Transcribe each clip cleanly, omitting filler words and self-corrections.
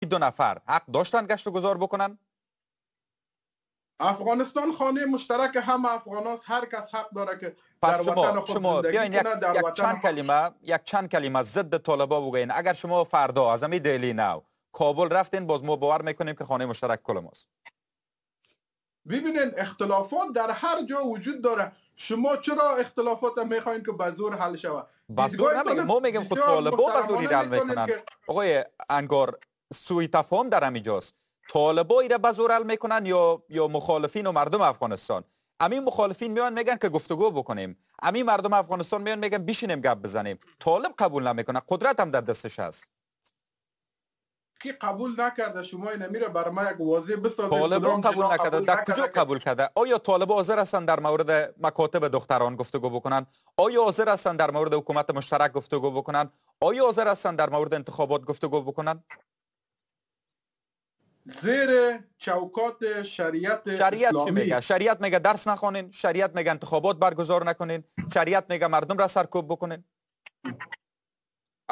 دو نفر حق داشتن گشت و گذار بکنن؟ افغانستان خانه مشترک هم افغان هاست، هر کس حق داره که پس در شما وطن خود شما زندگی بیاین یک, کنه، در یک وطن چند کلمه، یک چند کلمه ضد طالبا بگوین. اگر شما فردا از همین دهلی نو کابل رفتین، باز ما باور میکنیم که خانه مشترک کل ماست. ببینین اختلافات در هر جا وجود داره. شما چرا اختلافات میخواین که به زور حل شود؟ به زور نمیگیم، ما میگیم خود طالبا به زور حل میکنن. آقای انگار، سوء تفاهم در همینجاست. طالبا ایره به زور حل میکنن یا مخالفین و مردم افغانستان؟ امین مخالفین میان میگن که گفتگو بکنیم، امین مردم افغانستان میان میگن بیشینیم گپ بزنیم. طالب قبول نمیکنه، قدرت هم در دستش هست. کی قبول نکرده؟ شما این میره بر ما یک واضح بسازید. طالبان قبول نکرده. در کجا قبول کرده؟ آیا طالب حاضر هستند در مورد مکاتب دختران گفتگو بکنن؟ آیا حاضر هستند در مورد حکومت مشترک گفتگو بکنن؟ آیا حاضر هستند در مورد انتخابات گفتگو بکنن؟ زیر چوکات شریعت. شریعت چی میگه؟ شریعت میگه درس نخوانین، شریعت میگه انتخابات برگزار نکنین، شریعت میگه مردم را سرکوب بکنین.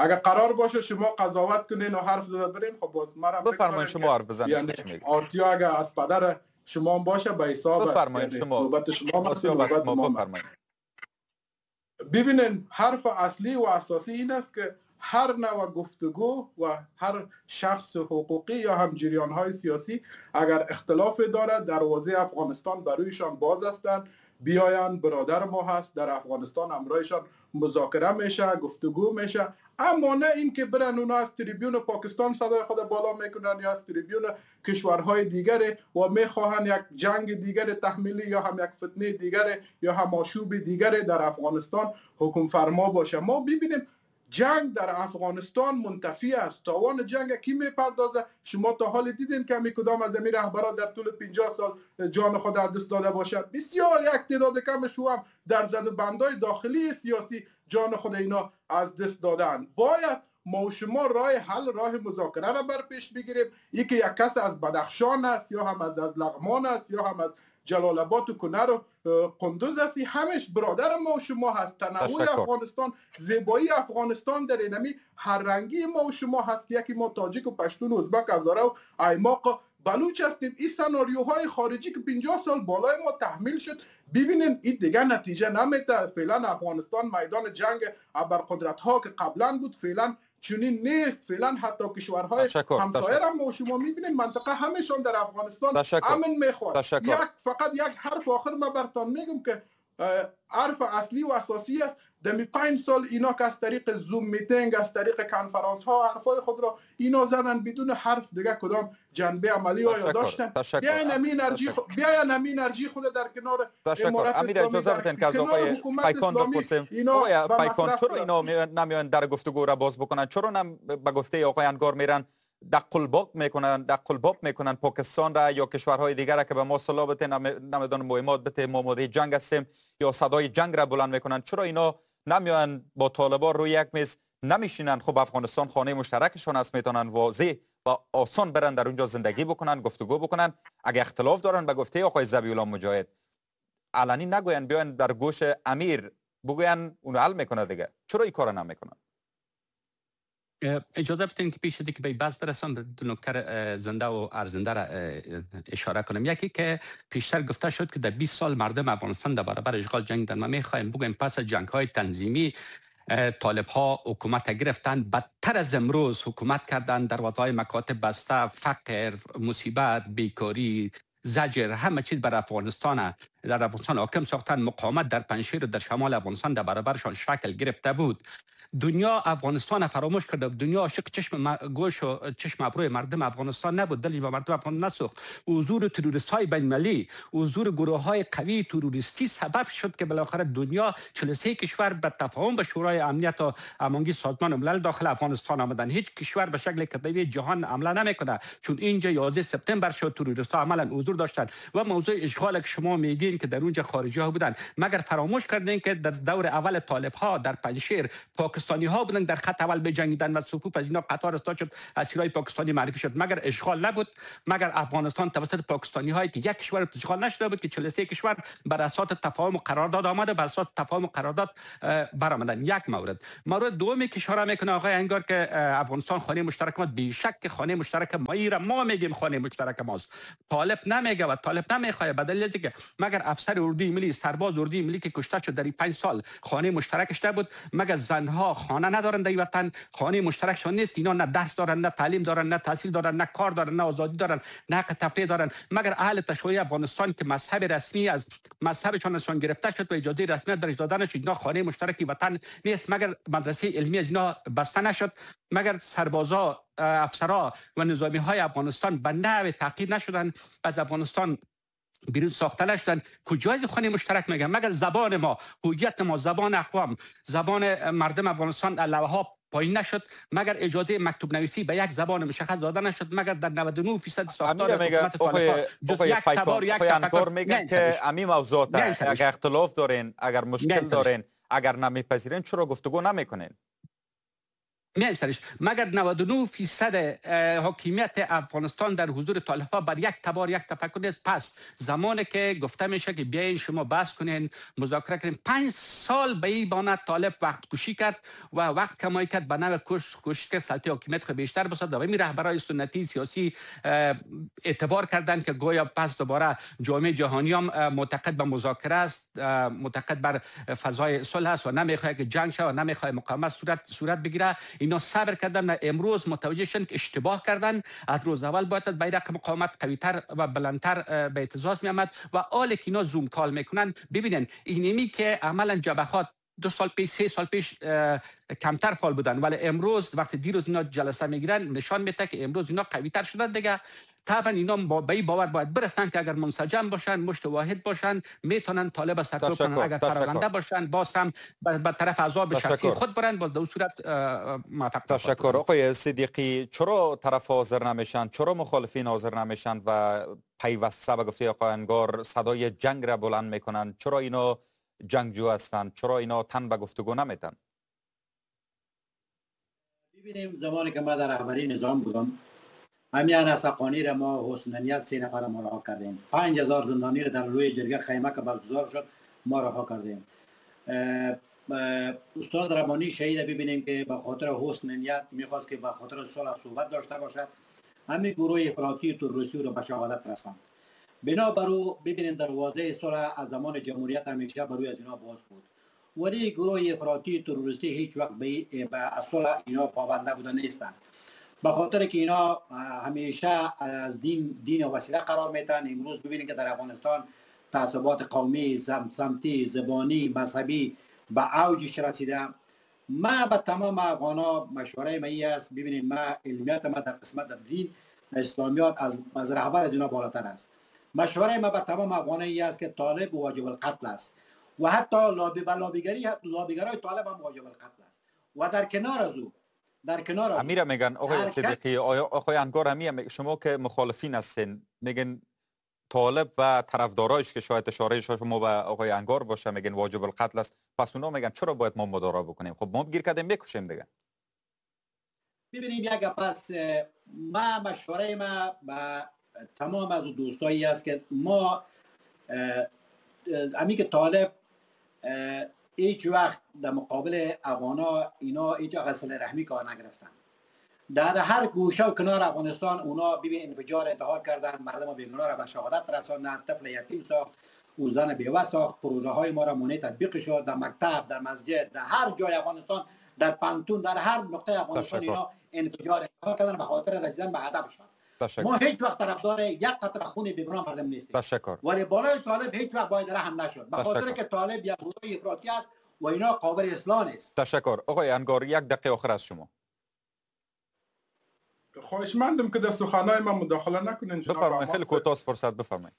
اگر قرار باشه شما قضاوت کنین و حرف زده برین، خب باز مرا بفرمایید شما حرف بزنید. یعنی آسیا اگر از پدر شما باشه به حساب. بفرمایید شما. نوبت شما، آسیا نوبت ما. بفرمایید. ببینین، حرف اصلی و اساسی این است که هر نوع گفتگو و هر شخص حقوقی یا هم جریان های سیاسی اگر اختلاف دارد، دروازه افغانستان برویشان باز هستند. بیاین، برادر ما هست در افغانستان، امرایشان مذاکره میشه، گفتگو میشه. اما نه اینکه برن اونا از تریبیون پاکستان صدای خود بالا میکنن یا از تریبیون کشورهای دیگر و میخواهن یک جنگ دیگر تحمیلی یا هم یک فتنه دیگر یا هم آشوب دیگر در افغانستان حکم فرما باشه. ما ببینیم جنگ در افغانستان منتفی است. تاوان جنگ کی میپردازه؟ شما تا حال دیدین که می کدام از امیر رهبران در طول 50 سال جان خود از دست داده باشد؟ بسیار یک تعداد کم شو هم در زد و بندای داخلی سیاسی جان خود اینا از دست دادن. باید ما و شما راه حل، راه مذاکره را بر پیش بگیریم. یکی یک کس از بدخشان است یا هم از لغمان است یا هم از جلال آباد و کنر و قندوز است، همش برادر ما و شما هست. تنوع افغانستان، زیبایی افغانستان در اینمی هر رنگی ما و شما هست که یکی ما تاجیک و پشتون و ازبک هزاره و ایماق و بلوچ هستیم. این سناریوهای خارجی که 50 سال بالای ما تحمیل شد، ببینین این دیگه نتیجه نمیده. فعلا افغانستان میدان جنگ ابرقدرت ها که قبلا بود فعلا چنین نیست. فعلا حتی کشورهای همسایه را ما شما میبینیم، منطقه همشان در افغانستان امن میخواد. یک فقط یک حرف آخر ما برتان میگم که حرف اصلی و اساسی است. دمی 5 سال اینا که از طریق Zoom meeting، از طریق کنفرانس ها حرفای خود را اینا زدن، بدون حرف دیگه کدام جنبه عملی آیا داشتن؟ بیاین همین انرژی بیاین همین انرژی خود در کنار تشکر. امیر، اجازه بدین که از آقای پیکان بپرسیم. آقای پیکان، چرا اینا نمیان در گفتگو را باز بکنن؟ چرا نم به گفته آقای انگار میرن دق الباب میکنن، دق الباب میکنن پاکستان را یا کشورهای دیگر را که به ما سلاح بده، نمیدونم مهمات بده، ما آماده جنگ هستیم، یا صدای جنگ را بلند میکنن؟ چرا اینا نمیان با طالبان روی یک میز نمیشینن؟ خب افغانستان خانه مشترکشان است، میتونن واضح و آسان برن در اونجا زندگی بکنن، گفتگو بکنن. اگه اختلاف دارن، به گفته آقای ذبیح الله مجاهد، علنی نگوین، بیان در گوش امیر بگوین، اونو حل میکنه دیگه. چرا این کارو نمیکنن؟ اجازه بدین که پیش از که به بحث برسم، دو نکته زنده و ارزنده را اشاره کنم. یکی که پیشتر گفته شد که در 20 سال مردم افغانستان در برابر اشغال جنگیدن. ما میخوایم بگویم پس از جنگ های تنظیمی طالب ها حکومت گرفتن، بدتر از امروز حکومت کردن. دروازه های مکاتب بسته، فقر، مصیبت، بیکاری، زجر، همه چیز بر افغانستان در افغانستان حاکم ساختن. مقاومت در پنجشیر و در شمال افغانستان در برابرشان شکل گرفته بود. دنیا افغانستان فراموش کرده. دنیا عاشق چشم گوش و چشم ابروی مردم افغانستان نبود، دلی به مردم افغانستان نسوخت. حضور تروریست های بین المللی، حضور گروه های قوی تروریستی سبب شد که بالاخره دنیا، 43 کشور به تفاهم به شورای امنیت و هماهنگی سازمان ملل داخل افغانستان آمدن. هیچ کشور به شکل کتبی جهان حمله نمیکنه، چون اینجا 11 سپتامبر شد، تروریست ها عملا حضور داشتن. و موضوع اشغال که شما میگین که در اونجا خارجی ها بودن. مگر فراموش کردین که در دور اول طالب ها در پنجشیر پاکستانی ها بودن در خط اول بجنگیدن و صفوف از اینا قطار استاد شد، اسیرای پاکستانی معرفی شد. مگر اشغال نبود؟ مگر افغانستان توسط پاکستانی هایی که یک کشور اشغال نشده بود که 43 کشور بر اساس تفاهم و قرارداد آمده، بر اساس تفاهم و قرارداد برآمدن. یک مورد دومی که اشاره میکنه آقای انگار که افغانستان خانه مشترک ما، بیشک خانه مشترک ما، ما میگیم خانه مشترک ماست، طالب نمیگه و طالب نمیخواد. به دلیل اینکه مگر افسر اردوی ملی، سرباز اردوی ملی که کشته شد در این 5 سال خانه مشترکش نبود؟ مگر زنها خانه ندارن در وطن؟ خانه مشترکشان نیست؟ اینا نه درس دارن، نه تعلیم دارن، نه تحصیل دارن، نه کار دارن، نه آزادی دارن، نه حق تفریح دارن. مگر اهل تشیع افغانستان که مذهب رسمی از مذهبشان گرفته شد و اجازه رسمیت برش دادن شد، اینا خانه مشترکی وطن نیست؟ مگر مدرسه علمی از اینا بسته نشد؟ مگر سربازا، افسرا و نظامی های افغانستان به نحو تعقیب نشدن، از افغانستان بیرون ساخته نشدن؟ کجای خانه مشترک میگن؟ مگر زبان ما، هویت ما، زبان اقوام، زبان مردم افغانستان علاوه پایین نشد؟ مگر اجازه مکتوب نویسی به یک زبان مشخص داده نشد؟ مگر در 99% ساختار حکومت طالبان جز یک تبار یک تفکر میگن که امی موضوع اگر اختلاف دارین، اگر مشکل دارین، اگر نمیپذیرین، چرا گفتگو نمیکنین؟ می‌شنویش. مگر 99% حاکمیت افغانستان در حضور طالبان بر یک تبار یک تفکر نیست؟ پس زمانی که گفته میشه که بیاین شما بحث کنین، مذاکره کنین، 5 سال به این بانه طالب وقت کشی کرد و وقت کمایی کرد، به نوع کوشش کرد سلطه حاکمیت خود بیشتر بسازد. و این رهبرای سنتی سیاسی اعتبار کردند که گویا پس دوباره جامعه جهانی هم معتقد به مذاکره است، معتقد بر فضای صلح است و نمیخواد که جنگ شود و نمیخواد مقاومت صورت بگیره. اینا صبر کردن و امروز متوجه شدن که اشتباه کردن. از روز اول باید بیرق مقاومت قویتر و بلندتر به اعتزاز می آمد و حال که اینا زوم کال میکنن، ببینن اینمی که عملا جبهات 2 سال پیش، 3 سال پیش کمتر فعال بودن، ولی امروز وقتی دیروز اینا جلسه میگیرن نشان میده که امروز اینا قویتر شدن دیگه. طبعا اینا به این باور باید برسن که اگر منسجم باشن، مشت واحد باشن، میتونن طالب سرکوب کنن. اگر پراکنده باشن، باز هم به طرف عذاب شخصی خود برن، باز در صورت موفق. تشکر. آقای صدیقی، چرا طرف حاضر نمیشن؟ چرا مخالفین حاضر نمیشن و پیوسته به گفته آقای انگار صدای جنگ را بلند میکنن؟ چرا اینا جنگجو هستند؟ چرا اینا تن به گفتگو نمیتن؟ ببینیم، زمانی که ما در رهبری نظام بودم، همین حقانی را ما حسن نیت 3 نفر ما رها کردیم، 5000 زندانی را در روی جرگه خیمه که برگزار شد ما رها کردیم. استاد ربانی شهید ببینیم که به خاطر حسن نیت میخواست که به خاطر صلح صحبت داشته باشد، همین گروه افراطی تروریستی را به شهادت رساند. بنابر او ببینیم دروازه صلح از زمان جمهوریت همیشه بر روی از اینا باز بود، ولی گروه افراطی تروریستی هیچ وقت به صلح اینا پابند نبودن نیستند، به خاطر که اینا همیشه از دین وسیله قرار میتن. امروز ببینید که در افغانستان تعصبات قومی، سمتی، زبانی، مذهبی به اوجش رسیده. ما به تمام افغانا مشوره ما است، ببینید ما علمیت ما در قسمت دین اسلامیات از رهبر از اینا بالاتر است. مشوره ما به تمام افغانا است که طالب واجب القتل است و حتی لابیگرای طالب هم واجب القتل است و در کنار از او امیره میگن آقای صدیقی، آقای انگار همی شما که مخالفین هستین میگن طالب و طرفدارایش که شاید اشاره شما به آقای انگار باشه میگن واجب القتل است، پس اونا میگن چرا باید ما مدارا بکنیم؟ خب ما گیر کردیم میکشیم دیگه. ببینیم یک پس ما مشوره ما به تمام از دوستایی است که ما امی که طالب هیچ وقت در مقابل افغانا اینا هیچ غسل رحمی کار نگرفتن. در هر گوشه و کنار افغانستان اونا ببین انفجار انتحار کردن، مردم بیگناه را به شهادت رساندن، طفل یتیم ساخت، او زن بیوه ساخت، پروژه های ما را مانع تطبیق شد در مکتب، در مسجد، در هر جای افغانستان، در پانتون، در هر نقطه افغانستان اینا انفجار انتحار کردن به خاطر رسیدن به هدفشان. ما هیچ وقت طرفدار یک قطره خون بیگناه مردم نیستیم. تشکر. ولی بالای طالب هیچ وقت باید رحم نشد، به خاطر که طالب یک گروه افراطی است و اینا قابل اصلاح نیست. تشکر. آقای انگار یک دقیقه آخر از شما. خواهشمندم که در سخنای من مداخله نکنین. بفرمایید، خیلی کوتاه فرصت بفرمایید.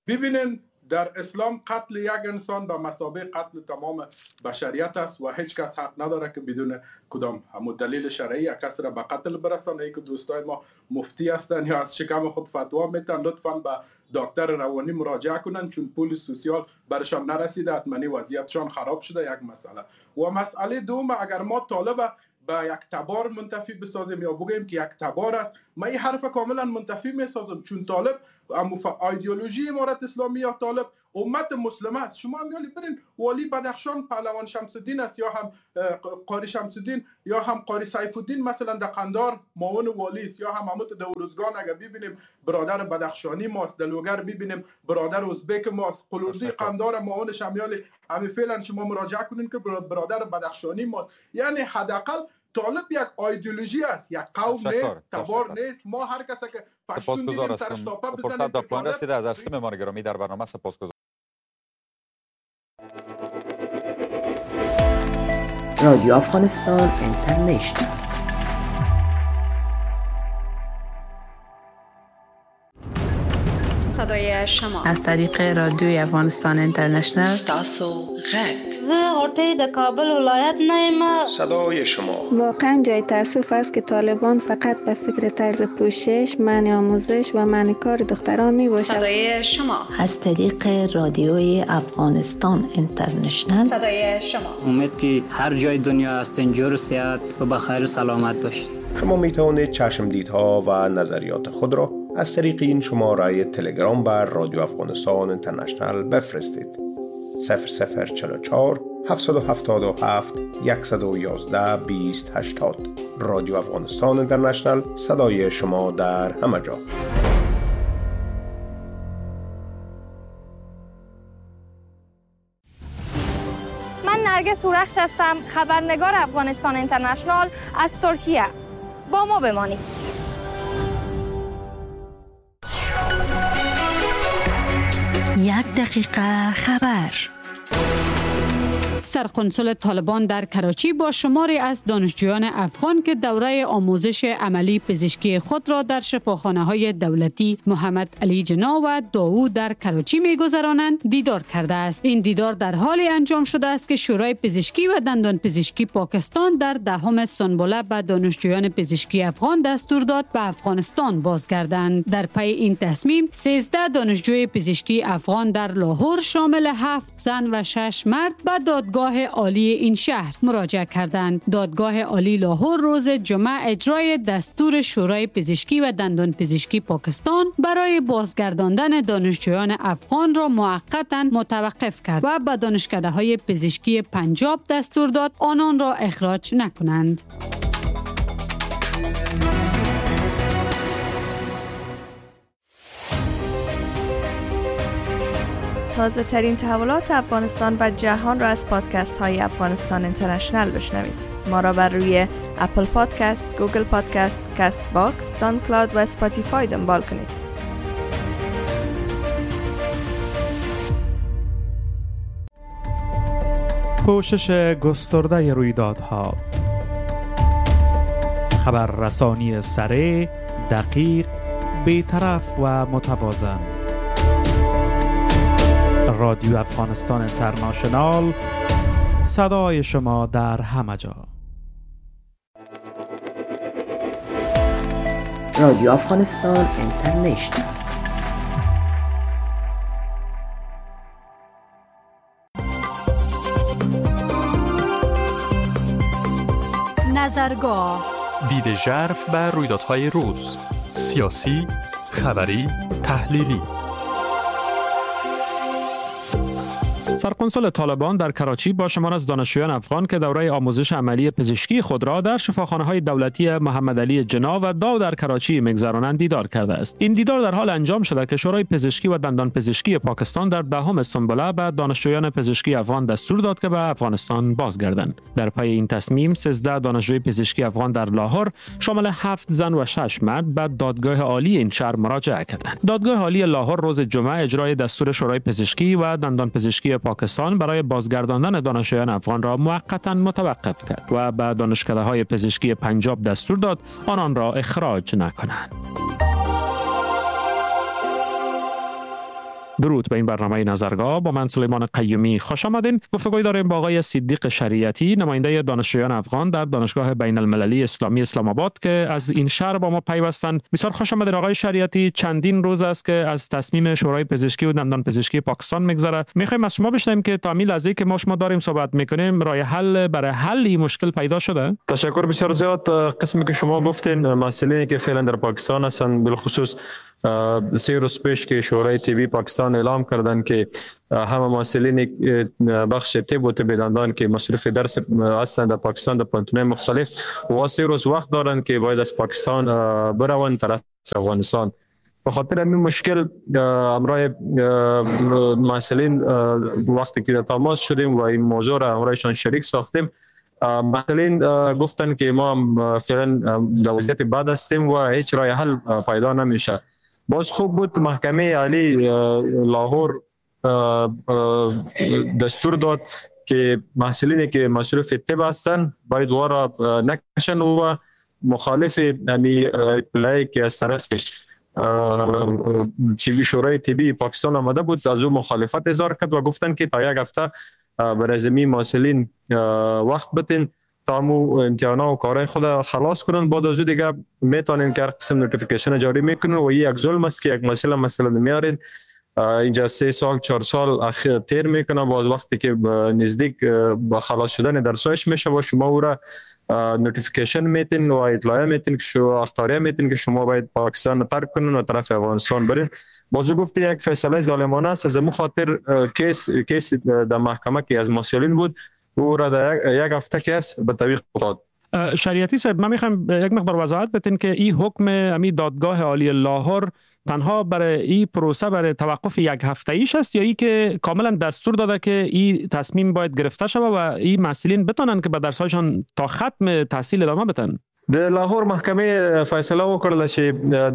ببینین در اسلام قتل یک انسان به مثابه قتل تمام بشریت است و هیچ کس حق نداره که بدون کدام همون دلیل شرعی یک کس را به قتل برسانه. ای که دوستای ما مفتی هستن یا از شکم خود فتوا میتن، لطفاً به دکتر روانی مراجعه کنن، چون پول سوسیال برشان نرسیده، حتما وضعیتشان خراب شده. یک مسئله. و مسئله دوم، اگر ما طالب به یک تبار منتفی بسازیم یا بگوییم که یک تبار است، من این حرف کاملا منتفی میسازم، چون طالب ایدئولوژی امارت اسلامی یا طالب امت مسلمه است. شما هم یالی برین والی بدخشان پهلوان شمس الدین است، یا هم قاری شمس الدین، یا هم قاری سیف الدین مثلا در قندار معاون والی است، یا هم همون در اورزگان اگر ببینیم برادر بدخشانی ماست، در لوگر ببینیم برادر ازبک ماست، قلوزی قندار معاون شمیالی همین فعلا شما مراجعه کنین که برادر بدخشانی ماست. یعنی حداقل طالب یک ایدئولوژی است، یک قوم نیست، تبار نیست. ما هر کس که پشتون دیدیم سرش تاپه بزنیم. فرصت در پایان رسیده. از عرصه مهمان گرامی در برنامه سپاسگزارم. رادیو افغانستان اینترنشنال. صدای شما از طریق رادیوی افغانستان اینترنشنال. تاسو غږ. زه غوټۍ د کابل ولایت نه یم. صدای شما. واقعا جای تاسف است که طالبان فقط به فکر طرز پوشش، منع آموزش و منع کار دختران می باشد. صدای شما از طریق رادیوی افغانستان اینترنشنال. صدای شما. امید که هر جای دنیا هستین جور صحت و بخیر و سلامت باشید. شما می توانید چشم دیدها و نظریات خود را از طریق این شماره تلگرام بر رادیو افغانستان اینترنشنال بفرستید. 0044 777 111 20 80. رادیو افغانستان اینترنشنال، صدای شما در همه جا. من نرگس هورخش هستم، خبرنگار افغانستان اینترنشنال از ترکیه. با ما بمانید. یک دقیقه خبر. سرکنسول طالبان در کراچی با شماری از دانشجویان افغان که دوره آموزش عملی پزشکی خود را در شفاخانه‌های دولتی محمد علی جناح و داوود در کراچی می‌گذرانند دیدار کرده است. این دیدار در حالی انجام شده است که شورای پزشکی و دندان پزشکی پاکستان در دهم سنبله به دانشجویان پزشکی افغان دستور داد به افغانستان بازگردند. در پی این تصمیم 13 دانشجوی پزشکی افغان در لاهور شامل 7 زن و 6 مرد به دادگاه عالی این شهر مراجعه کردند. دادگاه عالی لاهور روز جمعه اجرای دستور شورای پزشکی و دندان پزشکی پاکستان برای بازگرداندن دانشجویان افغان را موقتاً متوقف کرد و به دانشکده‌های پزشکی پنجاب دستور داد آنان را اخراج نکنند. تازه ترین تحولات افغانستان و جهان را از پادکست های افغانستان اینترنشنال بشنوید. ما را بر روی Apple Podcast، Google Podcast، Castbox، SoundCloud و Spotify دنبال کنید. پوشش گسترده رویدادها، خبررسانی سریع، دقیق، بی‌طرف و متوازن. رادیو افغانستان اینترنشنال، صدای شما در همه جا. رادیو افغانستان اینترنشنال. نظرگاه، دید ژرف بر رویدادهای روز، سیاسی، خبری، تحلیلی. سرکنسول طالبان در کراچی با شمار از دانشجویان افغان که دوره آموزش عملی پزشکی خود را در شفاخانه‌های دولتی محمد علی جناح و داو در کراچی می‌گذرانند دیدار کرده است. این دیدار در حال انجام شده که شورای پزشکی و دندان پزشکی پاکستان در دهم سنبله به دانشجویان پزشکی افغان دستور داد که به افغانستان بازگردند. در پی این تصمیم 13 دانشجوی پزشکی افغان در لاهور شامل 7 زن و 6 مرد به دادگاه عالی این شهر مراجعه کردند. دادگاه عالی لاهور روز جمعه اجرای دستور شورای پزشکی و دندان پزشکی پاکستان برای بازگرداندن دانشجویان افغان را موقتاً متوقف کرد و به دانشکده‌های پزشکی پنجاب دستور داد آنان را اخراج نکنند. درود به این برنامه نظرگاه، با من سلیمان قیومی خوش آمدین. گفتگوی داریم با آقای صدیق شریعتی، نماینده دانشجویان افغان در دانشگاه بین المللی اسلامی اسلام آباد که از این شهر با ما پیوستند. بسیار خوش آمدین آقای شریعتی. چندین روز است که از تصمیم شورای پزشکی و دندان پزشکی پاکستان میگذره. میخوایم از شما بشنویم که تا همین لحظه که ما شما داریم صحبت میکنیم راه حل برای حل این مشکل پیدا شده؟ تشکر بسیار زیاد. قسمی که شما گفتین، مسئله که فعلا در پاکستان هستند، بالخصوص 3 روز پیش که شورای طبی پاکستان اعلام کردند که همه محصلین بخش طب و طب دندان که مصروف درس هستند در پاکستان در پوهنتون‌های مختلف و 3 روز وقت دارند که باید از پاکستان بروند طرف افغانستان. به خاطر همین مشکل همراه محصلین وقتی که تماس شدیم و این موضوع را همراهشان شریک ساختیم، محصلین گفتن که ما فعلا در وضعیت بد هستیم و هیچ راه حل پیدا نمیشه. باز خوب بود محکمه عالی لاهور دستور داد که محصلینی که مصروف طب هستند باید وارا نکشن و مخالف یعنی اطلاعی که از طرف شورای طبی پاکستان آمده بود از او مخالفت اظهار کرد و گفتن که تا یک هفته برای زمین محصلین وقت بتین تا مو امتحانا و کارهای خود خلاص کنن، بعد از او دیگه میتونین که هر قسم notification جاری میکنن. و یک ظلم است که یک مسئله مثلا میارین اینجا 3 سال 4 سال اخیر تیر میکنه، باز وقتی که نزدیک با خلاص شدن درسایش میشه و شما او را notification میتین و اطلاعیه میتین که شما اخطاریه میتین که شما باید پاکستان ترک کنین و طرف افغانستان برین. باز گفت یک فیصله ظالمانه است. از مو خاطر case در محکمه که از محصلین بود او را در یک هفته case به تعویق افتاد. شریعتی صاحب، من میخوام یک مقدار وضاحت بدین که این حکم امی دادگاه عالی لاهور تنها برای این پروسه برای توقف یک هفته ایش است یا ای که کاملا دستور داده که این تصمیم باید گرفته شود و این محصلین بتونن که به درسایشان تا ختم تحصیل ادامه بدن؟ د لاهور محکمې فیصله وکړله چې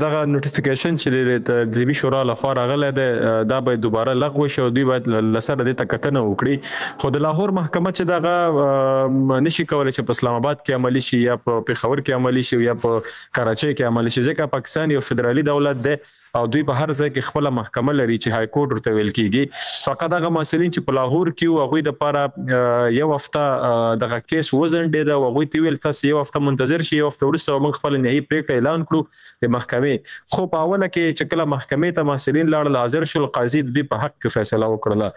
دغه notification چې د طبي شورا لخوا راغلی دی دا باید دوباره لغوه شي او دوی باید له سره دې ته کتنه وکړي. خو د لاهور محکمه چې دغه نشي کولی چې په اسلام آباد کې عملي شي یا په پېښور کې عملي شي یا په کراچۍ کې عملي شي، ځکه پاکستان یو فدرالي دولت دی او دوی په هر ځای کې خپله محکمه لري چې های کورټ ورته ویل کیږي. فقط هغه محصلین چې په لاهور کې وو هغوی دپاره یو هفته دغه case وځنډېده او هغوی ته ویل تاسو یو هفته منتظر شئ، یو هفته وروسته موږ خپله نهایي پرېکړه اعلان کړو د محکمې. خو په اوله کې چې کله محکمې ته محصلین لاړل حاضر شول، قاضي د دوی په حق کې فیصله وکړله.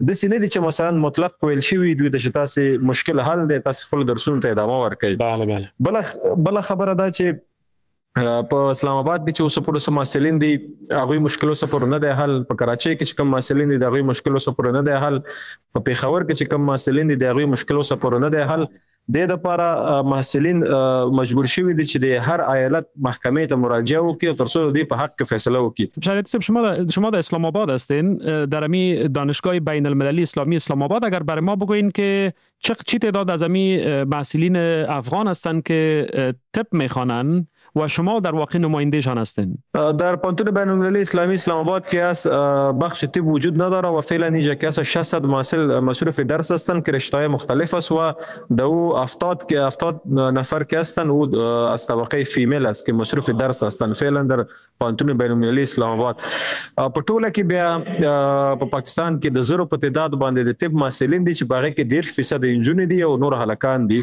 داسې نه دي چې مثلا مطلق ویل شوي دوی ته چې تاسې مشکل حل دی، تاسې خپلو درسونو ته ادامه ورکړئ. بله خبره دا چې په اسلام آباد کې چې اوس پورې څه محصلین دي هغوی مشکل اوسه پورې نه دی حل، په کراچۍ کې چې کوم محصلین دي د هغوی مشکل اوسه پورې نه دی حل، په پېښور کې چې کوم محصلین دي د هغوی مشکل اوسه پورې نه دی حل. د دې لپاره محصلین مجبور شوي دي چې د هر ایالت محکمې ته مراجعه وکړي تر څو د دوی په حق کې فیصله وکړي. شریعتی صاحب، شما در اسلام آباد هستین، در امی دانشگاه بین المللی اسلامی اسلام آباد اگر برای ما بگوین که چه تعداد از امی محصلین افغان هستند که طب میخوانند و شما در واقع نمایندهشان هستین؟ در پوهنتون بین المللی اسلامی اسلام آباد که از بخش طب وجود نداره و فعلا اینجا که از 600 محصل مصروف درس هستند که رشته‌های مختلف است و دو 70 نفر که هستند او از طبقه female است که مصروف درس هستند فعلا در پوهنتون بین المللی اسلام آباد. په ټوله کې بیا په پاکستان کې د 0 په تعداد باندې د طب محصلین دي چې په هغه کې 30% انجونې دي او نور هلکان دي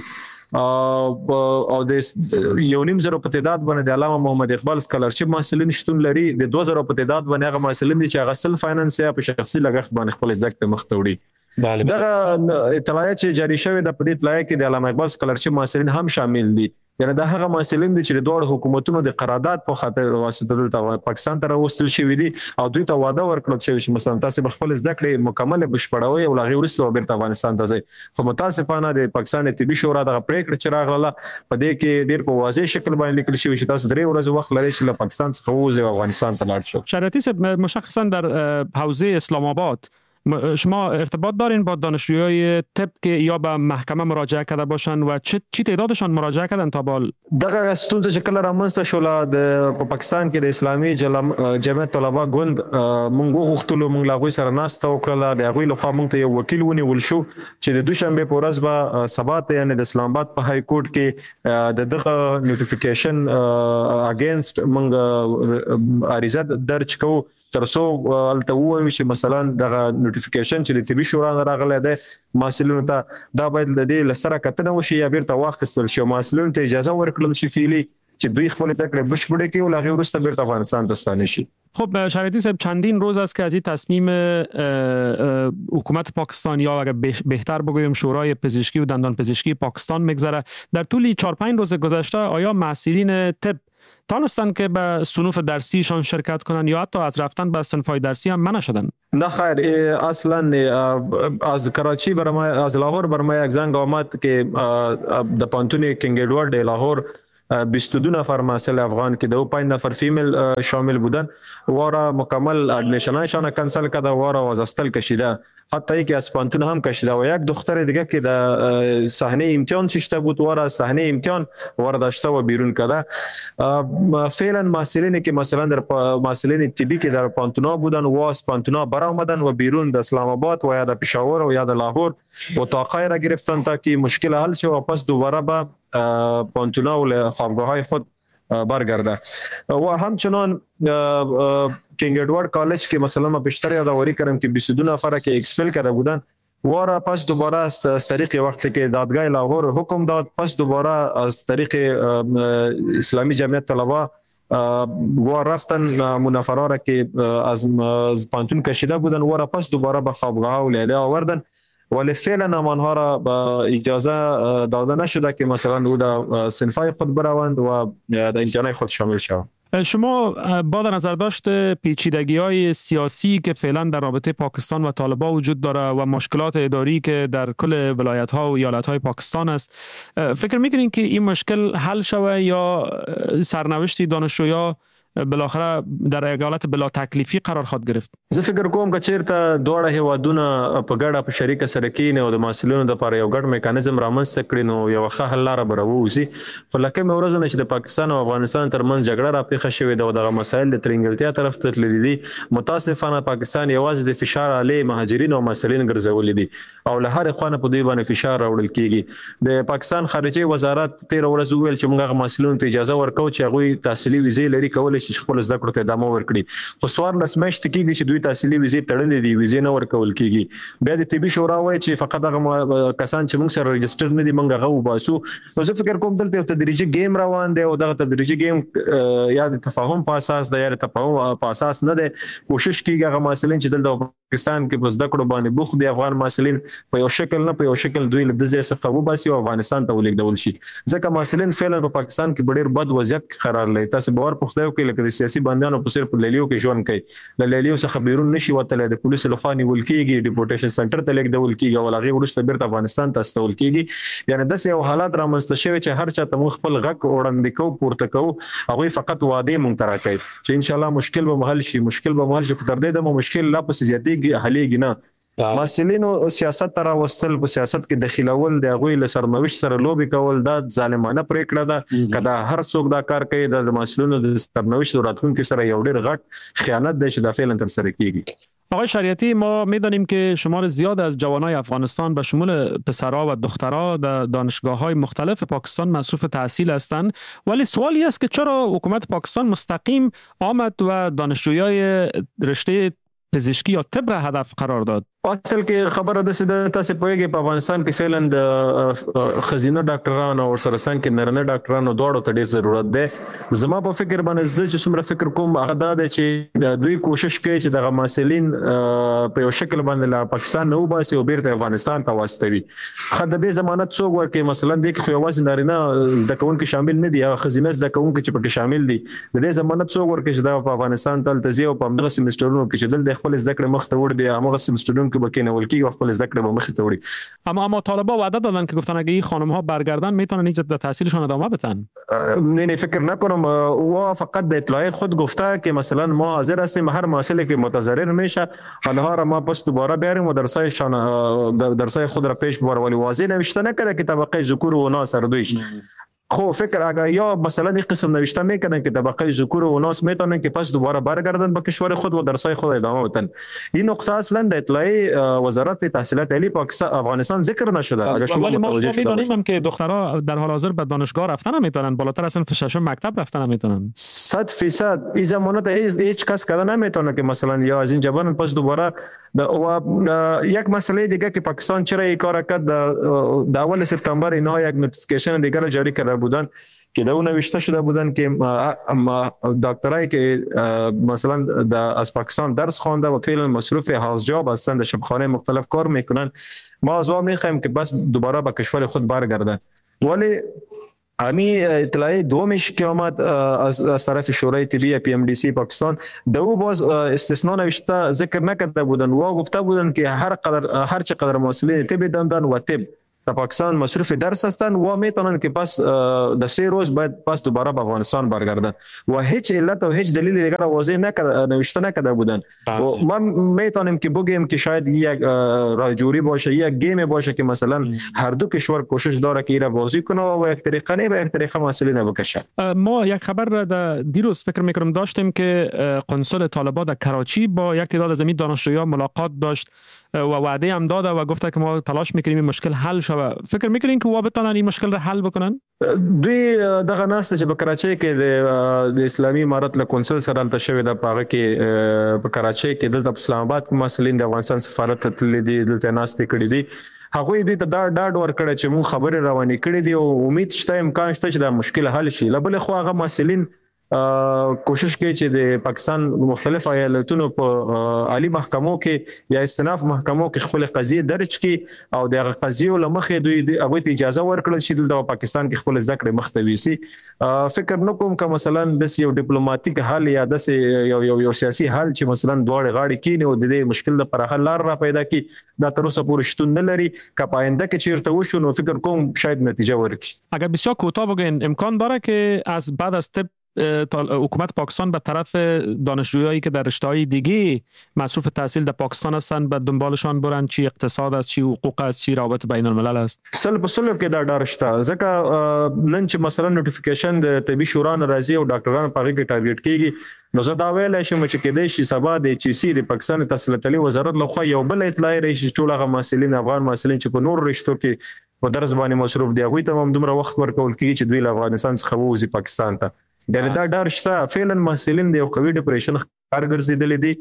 او د 1.5 زره په تعداد باندې د علامه محمد اقبال scholarship محصلین شتون لري. د 2,000 په تعداد باندې هغه محصلین دي چې هغه self finance یا په شخصي لګښت باندې خپل زده کړې مخ ته وړي. دغه اطلاعیه چې جاری شوې ده په دې اطلاعیه کې د علامه اقبال scholarship محصلین هم شامل دي. یعنی دا هغه محصلین دي چې د دواړو حکومتونو د قرارداد په خاطر واسطه دلته پاکستان ته راوستل شوي دي او دوی ته وعده ورکړل شوې چې مثلا تاسو به خپل زده کړې مکمل بشپړوئ او له هغې وروسته به بیرته افغانستان ته ځئ. خو متاسفانه د پاکستان طبي شورا دغه پرېکړه چې راغله په دې کې ډېر په واضح شکل باندې لیکل شوي چې تاسو 3 ورځې وخت لرئ چې له پاکستان څخه ووځئ او افغانستان ته لاړ شئ. شریعتی صاحب، مشخصا در حوزه اسلام آباد شما ارتباط دارین با دانشجوهای طب که یا به محکمه مراجعه کرده باشن و چی تعدادشان مراجعه کردن تا بال؟ دغه ستونزه چې کله رامنځته شوله د په پاکستان کې د اسلامي جمعیت طلبه ګوند مونږ وغوښتلو، مونږ له هغوی سره ناسته وکړله. د هغوی لخوا مونږ ته یو وکیل ونیول شو چې د دوشنبې په ورځ به سبا ته یعنې د اسلام آباد په های کورټ کې د دغه notification against مونږ عریضه درج کوو. تر څو هلته ووایو چې مثلا دغه نوټیفیکیشن چې د طبي شورا نه راغلی دی محصلینو ته، دا باید له دې له سره کتنه وشي یا بیرته واخیستل شي او محصلینو ته اجازه ورکړل شي فعلي چې دوی خپل زده کړې بشپړې کړي او له هغې وروسته بیرته افغانستان ته ستانه شي. خب شریعتی صاحب، چندین روز است که از این تصمیم حکومت پاکستان یا اگر بهتر بگویم شورای پزشکی و دندان پزشکی پاکستان میگذره. در طول 4-5 روز گذشته آیا محصلین طب تانستند که به صنوف درسیشان شرکت کنند یا حتی از رفتن به صنف‌های درسی هم منع شدند؟ نه خیر، اصلا از کراچی بر ما، از لاهور بر ما یک زنگ آمد که د پوهنتون کینګ ادوارد لاهور 22 نفر محصل افغان که د 5 نفر female شامل بودن وارا مکمل admission هایشان کنسل کرده، وارا از hostel کشیده، حتی یکی از پوهنتون هم کشیده و یک دختر دیگه که در صحنه امتحان ششته بود وارا صحنه امتحان وارا داشته و بیرون کرده. فعلا محصلینی که مثلا در محصلین طبی که در پوهنتونا بودن و از پوهنتونا برآمدن و بیرون در اسلام آباد و یا در پشاور و یا در لاهور اتاقای را گرفتن تا که مشکل حل شه و پس دوباره به پوهنتونا و خوابگاه های خود برگرده. و همچنان کینگ ادوارد کالج که مثلا ما بیشتر یادآوری کردم که 22 نفر که expel کرده بودن وارا پس دوباره از طریق وقتی که دادگاه لاهور حکم داد، پس دوباره از طریق اسلامی جمعیت طلبه و رفتن منفرا را که از پانتون کشیده بودن وارا پس دوباره به خوابگاه و لیله آوردن، ولی فعلا آنها را به اجازه داده نشده که مثلا او در صنف‌های خود بروند و در امتحانات خود شامل شوند. شما با در نظر داشت پیچیدگی‌های سیاسی که فعلا در رابطه پاکستان و طالبان وجود داره و مشکلات اداری که در کل ولایت‌ها و ایالت‌های پاکستان است، فکر می‌کنین که این مشکل حل شوه یا سرنوشتی دانشجویا بالاخره در یک حالت بلا تکلیفی قرار خواهد گرفت؟ زه فکر کوم که چیرته دواړه هیوادونه په ګډه په شریکه سره کینې او د محصلینو لپاره یو ګډ میکانیزم رامنځته کړي نو یو ښه حل لاره به راووځي. خو له کومې ورځې نه چې د پاکستان او افغانستان ترمنځ جګړه راپېښه شوې ده او دغه مسایل د ترینګلتیا طرف ته تللي دي، متاسفانه پاکستان یوازې د فشار آلې مهاجرین او محصلین ګرځولي دي او له هرې خوا نه په دوی باندې فشار راوړل کیږي. د پاکستان خارجه وزارت تېره ورځ وویل چې موږ هغه محصلینو ته اجازه ورکوو چې هغوی تحصیلي ویزې لري، کولی شي خپل زده کړو ته ادامه ورکړي، خو 14 میاشتې کېږي چې دوی تحصیلي ویزې تړلې دي، ویزې نه ورکول کېږي. بیا د طبي شورا وایي چې فقط هغه کسان چې موږ سره register نه دي موږ هغه وباسو. نو زه فکر کوم دلته یو تدریجي game روان دی او دغه تدریجي game یا د تفاهم په اساس دی یا د تفاهم په اساس نه دی. کوشش کېږي هغه محصلین چې دلته پاکستان کې په زده کړو باندې بوخت دي افغان محصلین په یو شکل نه په یو شکل دوی له دې ځای څخه وباسي او افغانستان ته ولېږدول شي، ځکه محصلین فعلا په پاکستان کې په ډېر بد وضعیت کې قرار لري. تاسو باور په خدای وکړئ لکه د سیاسي بندیانو په څېر په لیلیو کې ژوند کوي، له لیلیو څخه بیرون نشي وتلی، د پولیسو لخوا نیول کېږي، deportation center ته لېږدول کېږي او له هغې وروسته بیرته افغانستان ته استول کېږي. یعنې داسې یو حالات رامنځته شوی چې هر چا ته موږ خپل غږ وړاندې کوو، پورته کوو، هغوی فقط وعدې موږ ته راکوي چې انشاءالله مشکل به مو حل شي، مشکل به مو حل شي، خو تر دې دمه مشکل لا پسې زیاتېږي، حلېږي نه. محصلینو سیاست ته راوستل، په سیاست کې دخیلول، د هغوی له سرنوشت سره لوبې کول، دا ظالمانه پرېکړه ده. که دا هر څوک دا کار کوي دا د محصلینو د سرنوشت او راتلونکي سره یو ډېر غټ خیانت دی چې دا فعلا ترسره کیږي. آقای شریعتی، ما میدانیم که شمار زیاد از جوانای افغانستان به شمول پسرها و دخترها در دانشگاه‌های مختلف پاکستان مصروف تحصیل هستند، ولی سوالی است که چرا حکومت پاکستان مستقیم آمد و دانشجویای رشته پزشکی یا طب را هدف قرار داد؟ اصل کې خبره داسې ده، تاسې پوهېږئ په افغانستان کې فعلا د ښځینه ډاکټرانو او ورسره څنګ کې نارینه ډاکټرانو دواړو ته ډېر ضرورت دی. زما په فکر باندې زه چې څومره فکر کوم هغه دا دی چې دوی کوشش کوي چې دغه محصلین په یو شکل باندې له پاکستان نه وباسي او بیرته افغانستان ته واستوي. ښه د دې ضمانت څوک ورکوي؟ مثلا دې کې خو یوازې نارینه زده کوونکي شامل نه دي، هغه ښځینه زده کوونکي چې پکې شامل دي، د دې ضمانت څوک ورکوي چې دا په افغانستان ته هلته ځي او په همدغه سمسټرونو کې چې دلته خپل زده کړې مخ ته وړي دي، همغه سمسټرونو کې به کېنول کېږي او خپل زده کړې به مخ ته وړي. اما طالبا وعده دادن که گفتن اگه این خانم ها برگردن میتونن اینجا در تحصیلشان ادامه بدن. نه فکر نکنم. او فقط د اطلاع خود گفته که مثلا ما حاضر هستیم هر مسئله که متضرر میشه آنها را ما پس دوباره بیاریم و درسای خود را پیش ببریم، ولی واضح نوشته نکرده که طبقه ذکور و اناث هر دویش. خب فکر اگر یا مثلا این قسم نوشته میکنن که طبقه ذکور و اناث میتونن که پس دوباره برگردن به کشور خود و درسای خود ادامه بدن. این نقطه اصلا در اطلاعیه وزارت تحصیلات عالی پاکستان افغانستان ذکر نشده. اگر شما متوجه شده میدونیم هم که دخترها در حال حاضر به دانشگاه رفتن نمیتونن، بالاتر از صنف ششم مکتب رفتن نمیتونن. 100% این زمانت هیچ کس کده نمیتونه که مثلا یا از این جبان پس دوباره. و یک مسئله دیگه که پاکستان چرا این کار کرد، در اول سپتامبر اینها یک notification دیگر جاری کرده بودن که در اون نوشته شده بودن که دکترایی که مثلا از پاکستان درس خوانده و فعلا مصروف house job هستند، در شفاخانه مختلف کار میکنن، ما از او میخوایم که بس دوباره به کشور خود برگردن. ولی امی اطلاعیه دومش که آمد از طرف شورای طبی PMDC پاکستان، دو باز استثناء نوشته ذکر نکرده بودن و گفته بودن که هر چقدر محصلین طب دندان و طب در پاکستان مصروف درس هستند و میتونن که پس در 3 روز باید پس دوباره به افغانستان برگردن و هیچ علت و هیچ دلیل دیگر واضح نکرده، نوشته نکرده بودن. و ما میتونیم که بگیم که شاید یک راجوری باشه، یک گیم باشه که مثلا هر دو کشور کوشش داره که ایرا بازی کنه و یک طریقه نه به یک طریقه مسئله نبکشه. ما یک خبر را دیروز فکر میکنم داشتیم که قنصل طالبان در کراچی با یک تعداد از دانشجویان ملاقات داشت و وعده هم داده و گفته که ما تلاش میکنیم این مشکل حل شود. فکر میکنین که وا بتونن این مشکل را حل بکنن؟ دوی دغه ناسته چې په کراچۍ کې د اسلامي امارت له کونسل سره هلته شوې ده، په هغه کې په کراچۍ کې دلته په اسلام آباد کې محصلین د افغانستان سفارت ته تللي دي، دلته ناستې کړې دي. هغوی دوی ته دا ډاډ ورکړی چې موږ خبرې روانې کړې دي او امید شته، امکان شته چې دا مشکل حل شي. له بلې خوا هغه محصلین کوشش کوي چې د پاکستان مختلف ایالتونو په عالی محکمو کې یا استناف محکمو کې خپل قضیې درج کړي او د هغه قضیو له مخې دوی هغوی ته اجازه ورکړل شي دلته پاکستان کې خپل زده کړې مخته ویسي. فکر نه کوم که مثلا داسې یو ډیپلوماټیک حل یا داسې یو یو یو سیاسي حل چې مثلا دواړې غاړې کینې او د دې مشکل لپاره حل لار را پیدا کړي، دا تر اوسه پورې شتون نه لري. که په آینده کې چیرته وشو نو فکر کوم شاید نتیجه ورکړي. اگر بسیار کوتاه بگین، امکان داره که از بعد از طب حکومت پاکستان به طرف دانشجویایی که در رشته‌های دیگه مصروف تحصیل در پاکستان هستند به دنبالشان برن، چی اقتصاد است، چی حقوق است، چی روابط بین الملل است؟ سل په سلو کې دا ډار شته، ځکه نن چې مثلا notification د طبي شورا نه راځي او ډاکټران په هغې کې target کیږي، نو زه دا ویلی شم چې کېدای شي سبا د HEC د پاکستان تحصیلات عالي وزارت لخوا یو بل اطلاع راشي چې ټول هغه محصلین، افغان محصلین چې په نورو رشتو کې په درس باندې مصروف دي، هغوی ته هم دومره وخت ورکول کیږي چې دوی له افغانستان څخه ووځي پاکستان ته. یعنی دا ډار شته. فعلا محصلین د یو قوي depression ښکار ګرځېدلي دي،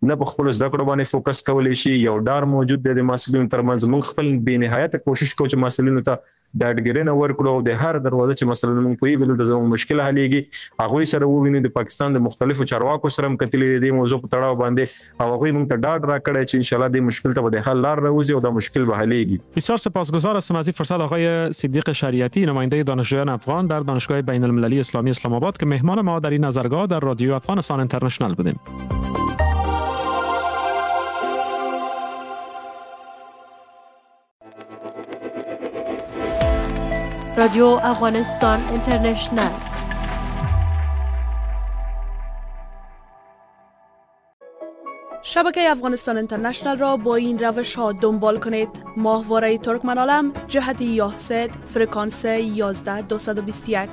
نه په خپلو زده کړو باندې focus کولی شي، یو ډار موجود دی د محصلینو ترمنځ. موږ خپل بې نهایته کوشش کوو چې محصلینو ته ډاډګیرنه ورکړو او د هر دروازه چې مثلا موږ پوهېږو دلته زموږ مشکل حلېږي هغوی سره ووینو. د پاکستان د مختلفو چارواکو سره هم کتلي دي دې موضوع په تړاو باندې او هغوی موږ ته ډاډ راکړی چې انشاءالله دې مشکل ته به د حل لار راوځي او دا مشکل به حلېږي. بسیار سپاسگزار هستم از این فرصت آقای صدیق شریعتی، نماینده دانشجویان افغان در دانشگاه بین المللی اسلامی اسلام آباد که مهمان ما در این نظرگاه در رادیو افغانستان اینترنشنال بودیم. رادیو افغانستان اینترنشنال. شبکه افغانستان اینترنشنال را با این روش ها دنبال کنید: ماهواره ترکمن عالم جهت یاهست فرکانس 11221،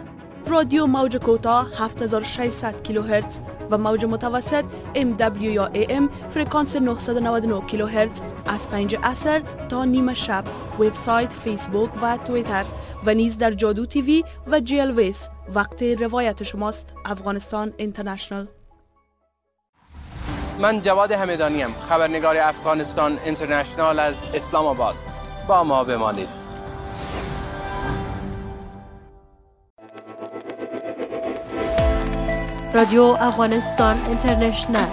رادیو موج کوتاه 7600 کیلوهرتز و موج متوسط MW یا AM فرکانس 999 کیلوهرتز از 5 عصر تا نیمه شب. وبسایت، فیسبوک و توییتر و نیز در جادو تیوی و جیلویس. وقت روایت شماست. افغانستان اینترنشنال. من جواد همدانی ام، خبرنگار افغانستان اینترنشنال از اسلام آباد. با ما بمانید. رادیو افغانستان اینترنشنال.